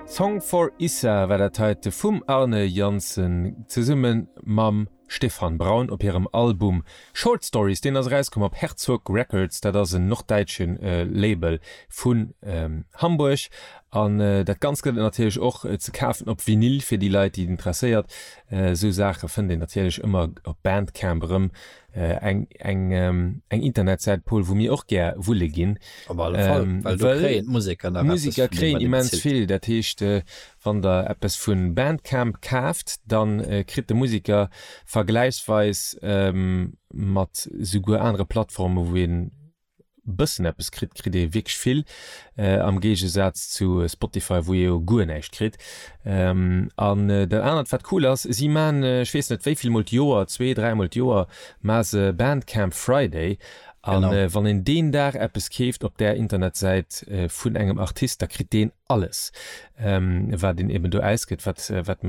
Song for Issa war dat heite vum Arne Janssen zesumme mam Stefan Braun op hirem Album Short Stories. Deen ass erauskomm op Herzog Records, dat ass en norddäitsche Label vun Hamburg. An dat Ganzt gëtt et natierlech och ze kafen op Vinyl fir déi Leit, déi et interesséiert. Esou Saache fënnt een natierlech ëmmer op Bandcamp erëm. Eng eng eng Internetsäit, Paul, wou mir och gär wulle ginn. Op alle Fall, well do kréien d'Museker nach eppes D'Museker kréien immens vill. Dat heescht, wann der eppes vu Bandcamp kaaft, da kritt de Museker vergläichsweis mat souguer anere Plattforme wou een bëssen eppes kritt, kritt ee wierklech vill, am Géigesaz zu Spotify, wou ee jo guer näischt kritt. An dat anert, wat cool ass, si man, ech weess net wéi vill mol d'Joer, zwee, dräimol d'Joer, ma se Bandcamp Friday. An wann een deen Dag eppes keeft op där Internetsäit vun engem Artist, da kritt deen alles wat een eben do ausgëtt, wat wat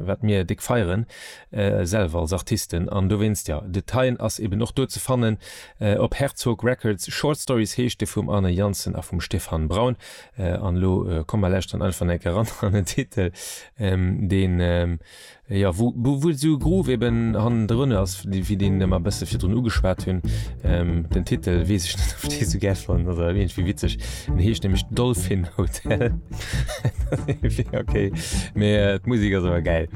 wat mir déck feieren selwer als Artisten. An dowéinst, jo, de Thein ass eben och do ze fannen op Herzog Records. Short Stories heescht de vum Arne Janssen a vum Stefan Braun. An elo komm mer lauschteren einfach eng Kéier eran an den Titel, deen Jo, wou wou esou e Groove eben hannendrun ass, wéi deen mer e bësse virdrun ugeschwat hunn. Den Titel weess ech net, ob ech dee sou gär fannen, ass awer iergendwéi witzeg. En heescht nämlech Dolphin Hotel. Ok, mee d'Musek ass awer gäil.